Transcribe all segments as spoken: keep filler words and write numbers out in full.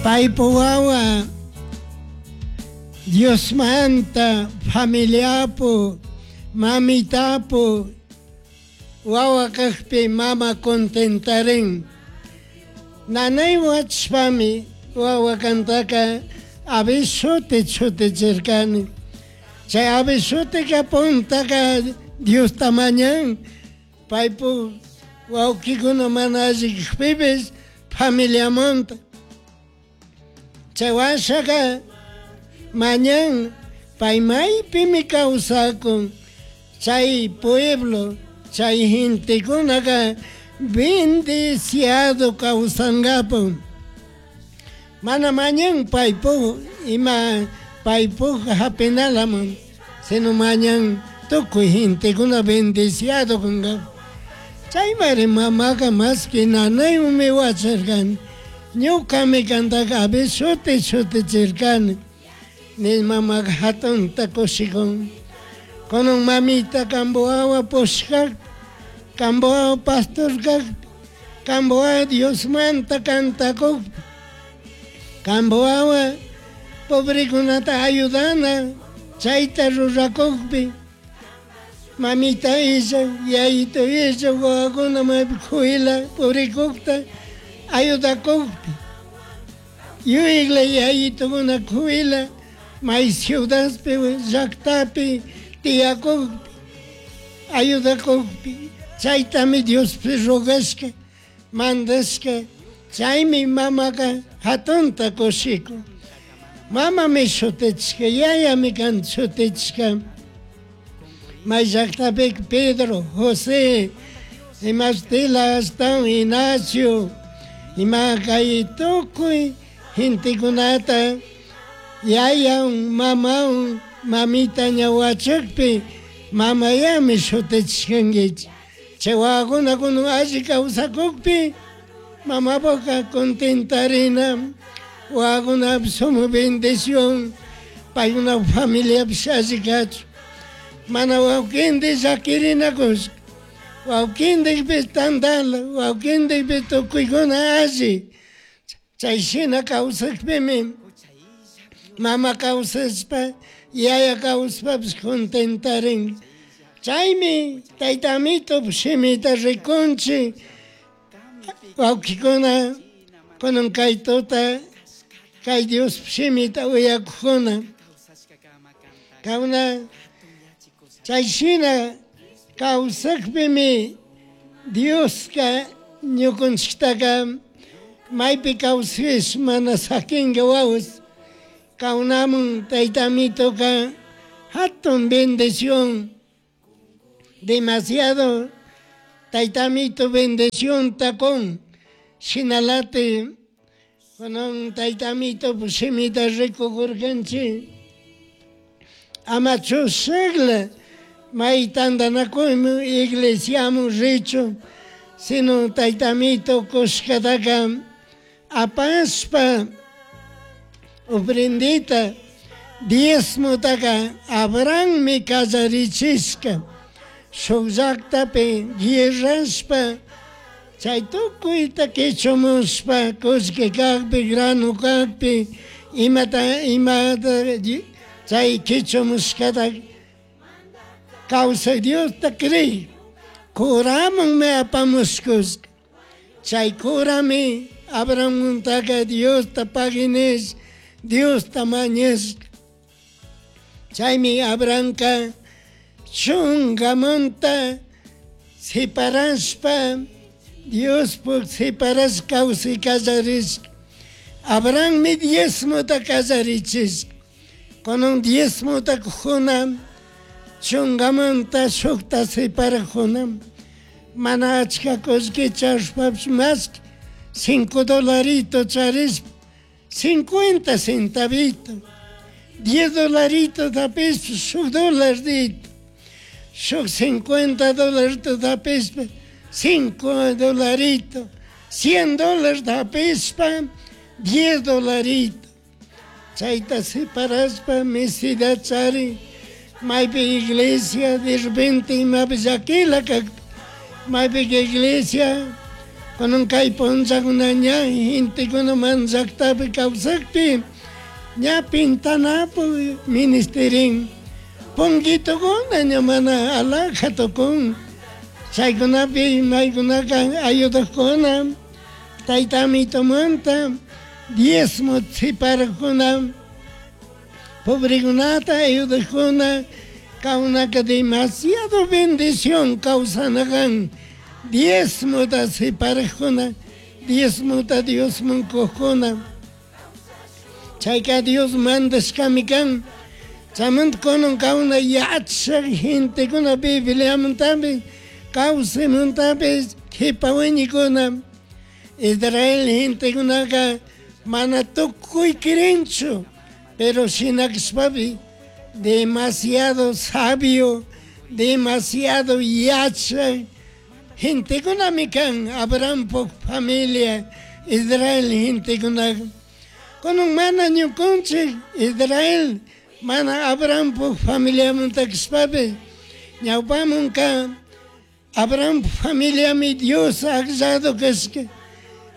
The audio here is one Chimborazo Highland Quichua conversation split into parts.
Paypu wawa Diosmanta familiapu mamitapu wawa kakpi mama contentarin. Nanay wachpami wawa kantaka abishuti chutichirkani. Chay abishutika puntaka Diosta mañan paypu wawkikuna mana alli kakpipis familiamanta. Chay washaka mañan pay maypimi kawsakun chay pueblo chay gentekunaka bendeciado kawsankapu. Mana mañan paypu ima paypu hapinalaman sino mañan tukuy gentekuna bendeciado kankapu. Chaymari mamaka maski nanaywanmi wacharkani ñukami kantaka abishuti shutichirkani ni mamaka hatunta kushikun. Kunan mamita kampu wawa pushkakpi kampu wawa pastor kakpi kampu wawa Diosmanta kantakukpi kampu wawa pobrekunata ayudana chayta rurakukpi mamita illa yayito illa wawakuna maypi kuyla purikukta ayudakukpi yuyakla yayitukuna kuyla may ciudadpi llaktapi tiyakukpi ayudakukpi chaytami Diospi rogashka mandashka chaymi mamaka hatunta kushikun. Mamami shutichishka yayami kan shutichishka may llaktapi Pedro, José, imashtila ashtawan Ignacio, ima kay tukuy gentekunata yayan mamawan mamita ña wachakpi mamayami shutichishkankichik. Chay wawakuna kunan alli kawsakukpi mamapuka contentarina wawakunapish sumak bendición paykuna familiapish alli kachun. Mana wawkintik llakirinakushka wawkintikpish tantala wawkintikpish tukuykuna alli chay shina kawsakpimi mama kawsashpa yaya kawsashpapish contentarin. Chaymi tayta amito shimita rikunchik wawkikuna kunan kay tuta kay Dios shimita uyakukuna kawna chay shina kawsakpimi Dioska ñukunchiktaka maypi kawsakish mana sakinka wawas kawnamun tayta amitoka hatun bendición demasiado tayta amito bendición kun shinalati kunan tayta amito shimita rikukurkanchik ama chushakla may tantanakuymun iglesiamun richun sino tayta amito kushkataka apashpa ofrendita diezmotaka Abrahammi kallarichishka shuk llaktapi guerrashpa chay tukuyta kichumushpa kullki kakpi grano kakpi imata imata chay kichumushkata kawsak Diosta crey curamanmi apamushkushka chay curami Abrahamuntaka Diosta pagui Diosta mañashka. Chaymi Abrahamka chunkamanta separashpa Diospuk separashka kawsay kallarishka. Abrahammi diezmota kallarichishka. Kunan diezmota kujuna chunkamanta shukta separakuna mana achka kullki charishpapish mashki cinco dolarito charishpa cincuenta centavito diez dolarito tapishpa shuk dolarito shuk cincuenta dolarito tapishpa cinco dolarito cien dólares tapishpa diez dolarito chayta separashpa mesida chari maypi iglesia de repente imapi llakila kakpi maypi iglesia Kunan kay punllakuna ña gentekuna mana llaktapi kawsakpi ña pintanapu ministerin punguitukuna ña mana alhaja tukun chaykunapi maykunaka ayudakuna tayta amitumanta diezmo siparakuna pobrekunata ayudakuna kawnaka demasiado bendición kawsanakan diezmota siparakuna diezmota Diosman kukuna chayka Dios mandashkami kan chaymanta kunan kawna yachak gentekuna Bibliamantapish kawsaymantapish kipa wiñikuna Israel gentekunaka mana tukuy kirinchu pero shinakashpapish demasiado sabio demasiado yachak gentekunami kan Abrahampuk familia Israel gentekunaka kunan mana ñukanchik Israel mana Abrahampuk familiamanta kashpapish ñawpamanka Abrahampuk familiami Dios akllado kashka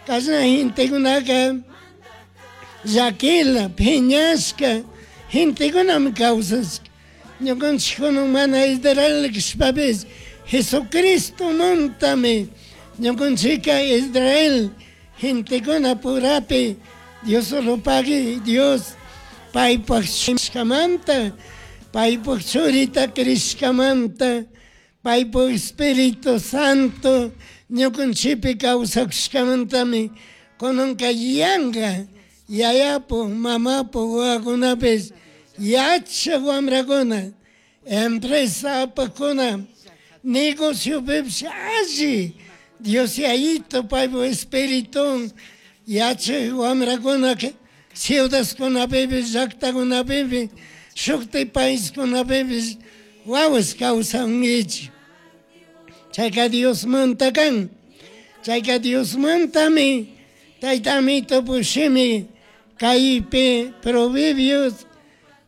kashna gentekunaka llaquila piñashka gentekunami kawsashka ñukanchik kunan mana Israel kashpapish Jesucristomantami ñukanchika Israel gentekuna purapi Dios rupagui Dios paypak shkamanta paypak churita crishkamanta paypak Espíritu Santo ñukanchikpi kawsakushkamantami kunanka yanka yayapu mamapu wawakunapish yachak wamrakuna empresa apakuna negociopipish alli Dios yayito paypak Espíritu yachak wamrakuna ciudadkunapipish llaktakunapipish shukti paiskunapipish wawas kawsankichik chayka Diosmanta kan chayka Diosmantami tayta amito shimi kaypi Proverbios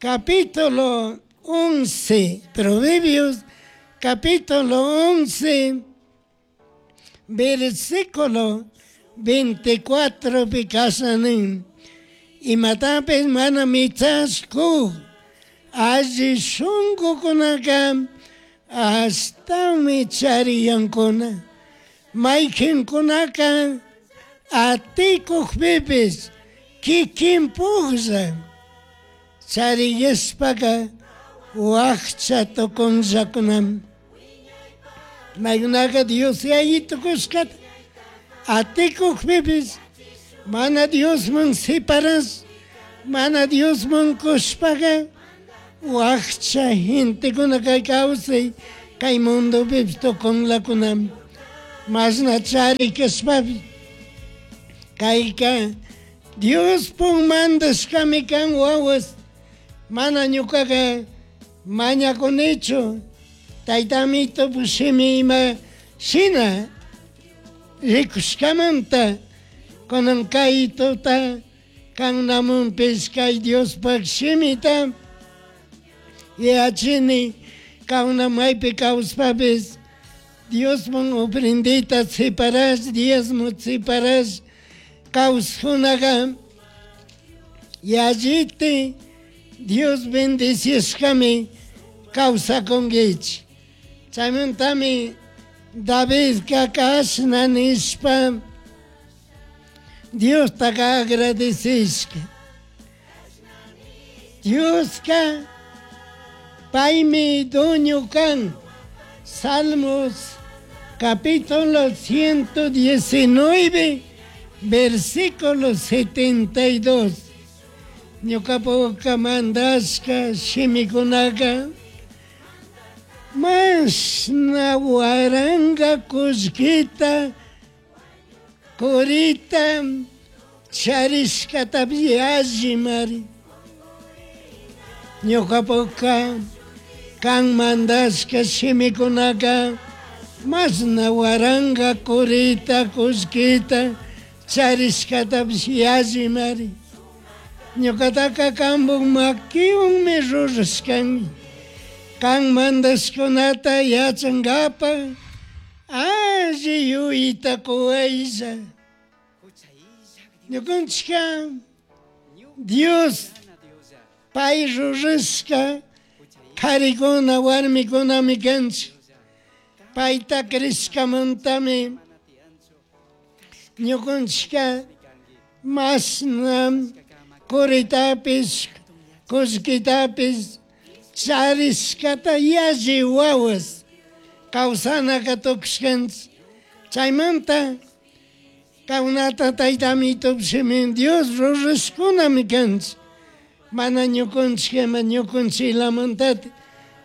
capítulo once Proverbios capítulo once versículo veinticuatro pi kashna nin imatapish mana michashku alli shunkukunaka ashtami chariyankuna mayqinkunaka atikukpipish kikinpuklla chariyashpaka wakcha tukunllakunami maykunaka Dios yayito kushkata atikukpipish mana Diosman siparash mana Diosman kushpaka wakcha gentekuna kay kawsay kay mundopipish tukunlakunami mashna chari kashpapish kayka Diospuk mandashkami kan wawas mana ñukaka mañakunichu tayta amito shimi ima shina rikushkamanta kunan kay tuta kannamunpish kay Diospak shimita yachini kawna maypi kawspapish Diosman ofrendita siparash diezmo siparash kawskunaka yalliti Dios bendecishkami kawsakunkichik chaymantami Davidka kashna nishpa Diostaka agradecishka Dioska paymi dueño kan Salmos capítulo ciento diecinueve versículo setenta y dos ñukapuka mandashka shimikunaka mashna waranga kullkita kurita charishkatapish allimari ñukapuka kan mandashka shimikunaka mashna waranga kurita kullkita charishkatapish allimari ñukataka kanpuk makiwanmi rurashkanki kan mandashkunata yachankapak Alli yuyayta quwaylla. Ñukanchikka Dios pay rurashka karikuna warmikunami kanchik. Payta crishkamantami ñukanchikka mashna kuritapis kullkitapis charishkata yalli wawas kawsanaka tukushkanchik. Chaymanta kawnata taytamitupish Dios rurashkunami kanchik. Mana ñukanchik ima ñukanchiklamantati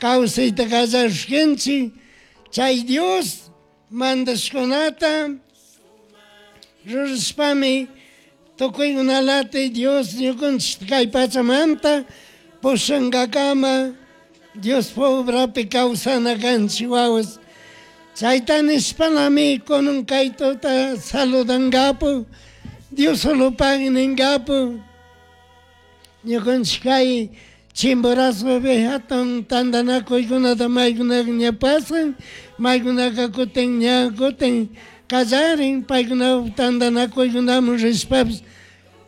kawsayta kallarishkanchik. Chay Dios mandashkunata rurashpami tukuykunalati Dios ñukanchik kay pachamanta pushankakama Dios obrapi kawsana kanchik wawas. Chayta nishpalami kunan kay tuta saludangapu Dios solopaq ningapu ñukanchik kay Chimborazopi hatun tantanakuykunata maykunaka ña pasan, maykunaka kutin ña kutin kallarin, paykuna tantanakuykunaman rishpapis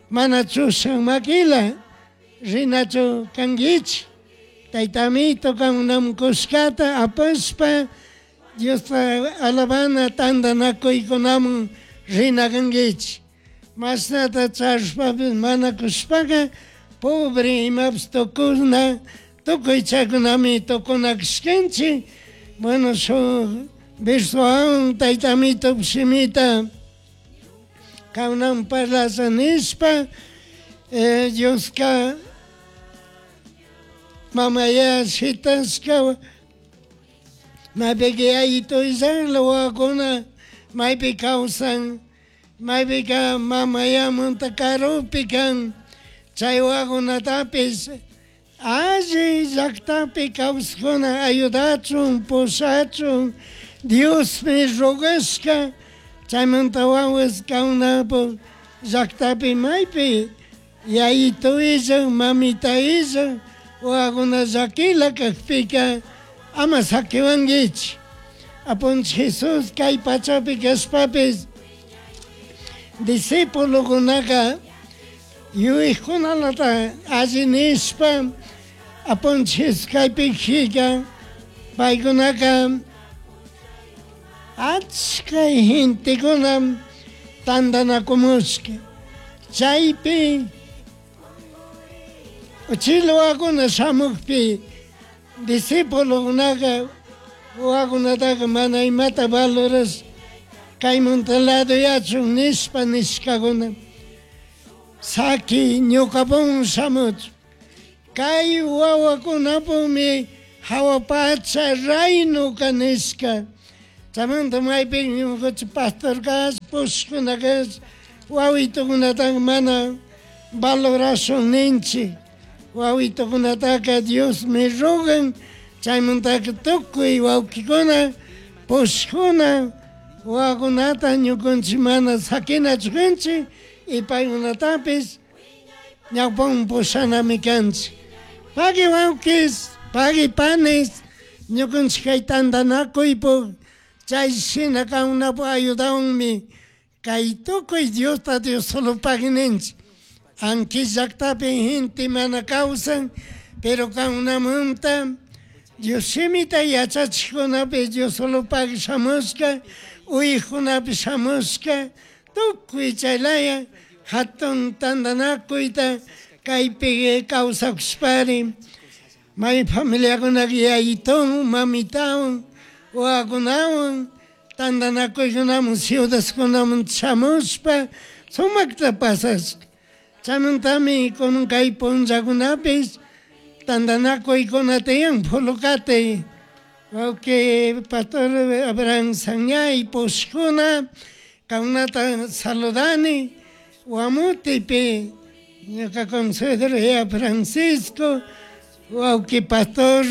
mana chushan makila rinachu kankichik. Taytamito kankunaman kushkata apashpa Diosta alabana tantanakuykunaman rina kankichik. Mashnata charishpapis mana kushpaka pobre imapis tukuna tukuy chaykunami tukuna kashkanchik. Bueno, shuk versowan taytamito shimita kankunaman parlasha nishpa eh, Dioska mamaya shitashka maypika yayitu illanla wawakuna maypi kawsan maypika mamayamanta karupi kan chay wawakunatapis alli llaktapi kawsakuna ayudachun pushachun Diosmi rogashka chaymanta wawas kawnapu llaktapi maypi yayitu illan mamita illan wawakuna llakila kakpika ama sakiwankichik. Apunchik Jesus kay pachapi kashpapis discípulokunaka yuyaykunalata alli nishpa apunchik Jesus kaypi paykunaka achka gentekuna tantanakumushka. Chaypi uchila wawakuna shamukpi discípulokunaka wawakunataka mana imata valorash kaymanta laduyachun nishpa nishkakuna. Saki ñukapun shamuchun. Kay wawakunapumi hawa pacha raynuka nishka. Chaymanta maypi ñukanchik pastor kash, pushkuna kash, wawitukunataka mana valorashun ninchik. Wawitukunataka Diosmi rogan, chaymantaka tukuy wawkikuna, pushkuna, wawakunata ñukanchik mana sakinachu kanchik y paykunatapis ñawpaman pushanami kanchik. Pagui wawkis, pagui panis, ñukanchik kay tantanakuypuk chay shina kankunapuk ayudawanmi kay tukuy Diosta Dios solopaq ninchik. Aunque llaktapi gente mana kawsan, pero kankunamanta Dios shimita yachachikkunapi Dios solopaq shamushka, uykunapi shamushka, tukuy chaylaya hatun tantanakuyta kaypi kawsakushpari may familiakunaka yayitawan, mamitawan, wawakunawan tantanakuykunaman ciudadkunaman shamushpa sumakta pasashka. Chaymantami kunan kay punllakunapis tantanakuykuna tiyan Pholocate wawki pastor Abraham Sañay pushkuna kankunata saludani Guamutipi ñuka consuegro ya Francisco wawki pastor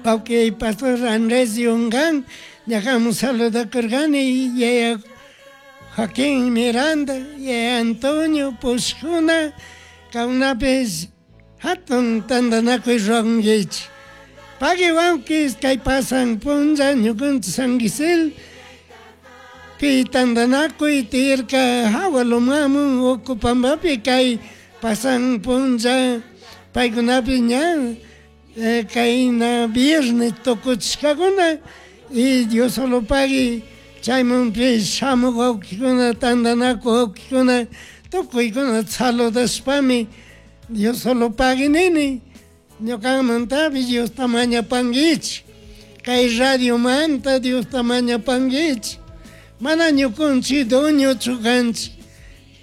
wawki pastor Andrés Yungán ñakamun saludakurkani yaya Joaquín Miranda yaya Antonio pushkuna kankunapis hatun tantanakuy rurankichik. Pagui wawkis kay pasan punlla ñukanchik San Gisel pi tantanakuy tiyarka hawa lumamun Ucupambapi kay pasan punlla paykunapi ña kayna viernes tukuchishkakuna y Diosolopagui chaymunpish shamuk wawkikuna tantanaku wawkikuna tukuykuna saludashpami Diosolopagui nini ñukamantapish Diosta mañapankichik kay radiomanta Diosta mañapankichik mana ñukanchik dueñochu kanchik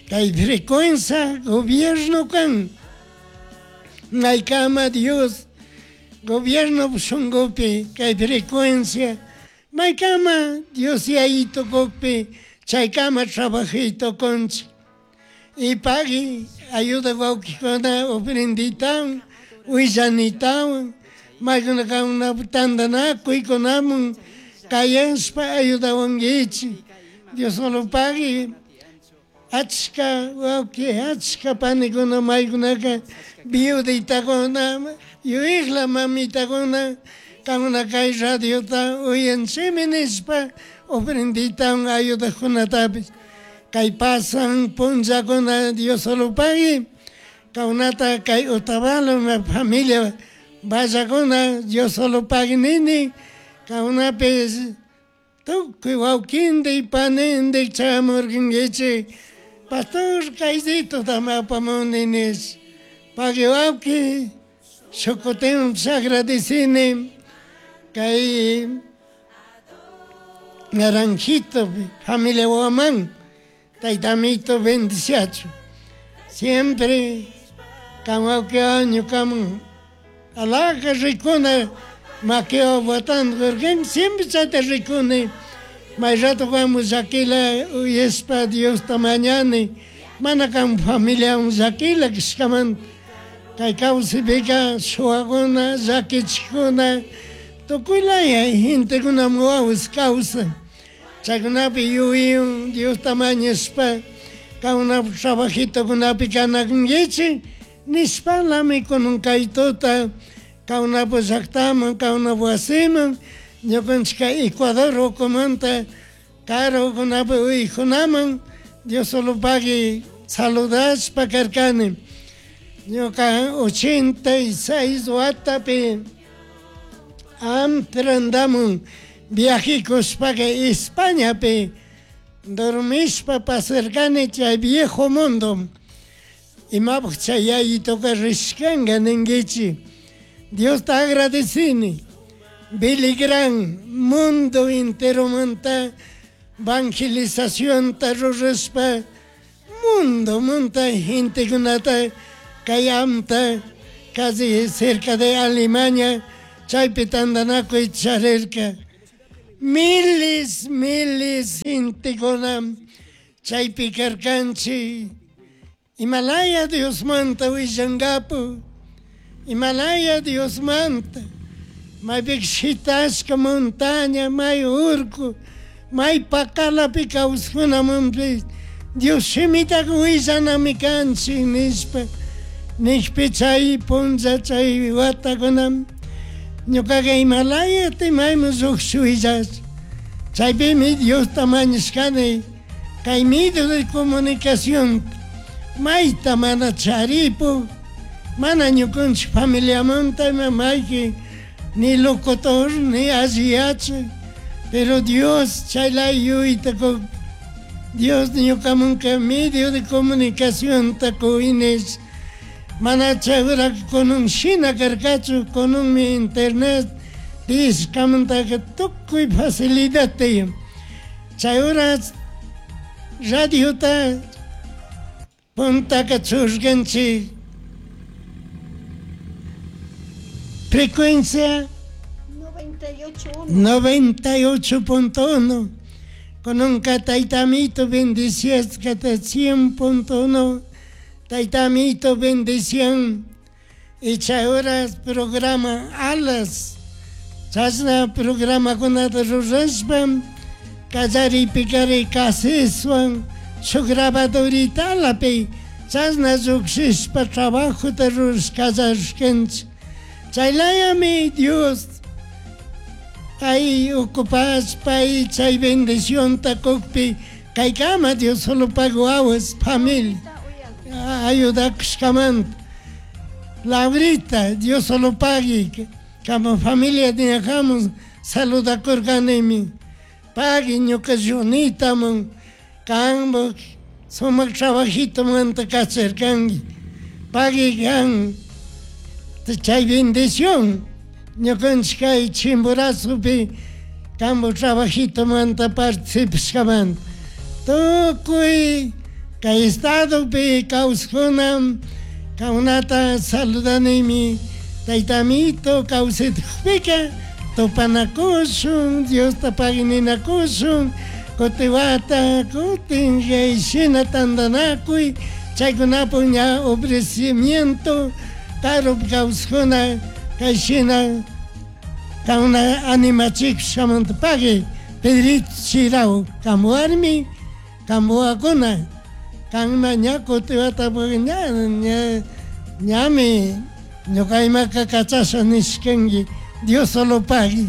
kay frecuencia gobierno kan maykama Dios gobierno shunkupi kay frecuencia maykama Dios yayito kukpi chaykama trabajay tukunchik y pagui ayuda wawkikuna ofrenditawan willanitawan maykuna kankunapak tantanakuykunamun kayashpa ayudawankichik Diosolopagui achka wawki achka panikuna maykunaka viuditakuna yuyakla mamitakuna kankuna kay radiota uyanchikmi nishpa ofrenditawan ayudakkunatapish kay pasan punllakuna Diosolopagui kankunata kay Otavalo familia vallakuna Diosolopagui nini kankunapish tukuy wawkindik panindik chamurkankichik pastor kaysitutami apamuni nish pagui wawki shuk kutinpish agradecini kay Naranjito familia Guamán tayta amito bendiciachun siempre kan wawkiwan ñukaman alhaja rikuna maquiwan botando karkani siempre chayta rikuni may rato kanmun llakila uyashpa Diosta mañani mana kan familiawan llakila kashkamanta kay kawsaypika shuwakuna llakichikuna tukuylaya gentekunami wawas kawsan chaykunapi yuyaywan Diosta mañashpa kankunapak trabajitokunapi kanakunkichik nishpalami kunan kay tuta kankunapak llaktaman kankunapak wasiman ñukanchik kay Ecuador ukumanta karukunapi uykunaman Diosolopagui saludashpa karkani ñuka ochenta y seis watapi Amsterdamman viajekushpaka Españapi dormishpa pasarkani chay viejo mundo imapak chay yayituka rishkanka ninkichik Diosta agradecini Billy Graham mundo enteromanta evangelizacionta rurashpa mundo munta gentekunata kay amta casi cerca de Alemania chaypi tantanakuy charirka miles miles gentekuna chaypi karkanchik imalaya Diosmanta willankapu imalaya Diosmanta maypika shitashka montaña may urku may pakalapi kawsakunamunpish Dios shimitaka willanami kanchik nishpa nishpi chay punlla chay watakuna ñukaka imalayata mayman llukshish willash chaypimi Diosta mañashkani kay medio de comunicación mayta mana charipuk mana ñukanchik familiamanta ima mayki ni locutor ni alli yachak pero Dios chaylaya yuyayta kuk Dios ñukamanka medio de comunicacionta kuynish mana chay horaka kunan shina karkachu kunanmi internet tiyashkamantaka tukuy facilidad tiyan chay horas radiota puntaka churkanchik frecuencia noventa y ocho punto uno kunanka tayta amito bendiciashkata cien punto uno tayta amito bendición y chay horas programa alas chashna programakunata rurashpa kallaripikari caseswan shuk grabadoritalapi chashna llukshishpa trabajota rurash kallarishkanchik chaylayami Dios Pay ocupashpa chay bendicionta kukpi kaykama Diosolopak wawas familia ayudakushkamanta. Laurita, Diosolopagui, kama familia ñajamun saludakurkanimi. Pagui ñuka Junitaman kanpak sumak trabajitomanta kacharkanki. Pagui kan chay bendición ñukanchik kay Chimborazopi kanpak trabajitomanta participashkamanta. Tukuy kay estadopi kawsakuna kankunata saludanimi tayta amito kawsaytukpika tupanakushun Diosta pagui ninakushun kutin wata kutin kay shina tantanakuy chaykunapuk ña ofrecimiento karupi kawsakuna kay shina kankuna animachikushkamanta pagui Pedrito Chirao kanpak warmi kanpak wawakuna kanma ña kutin watapak ña ña ñami ñuka imaka kachasha nishkanki Diosolopagui.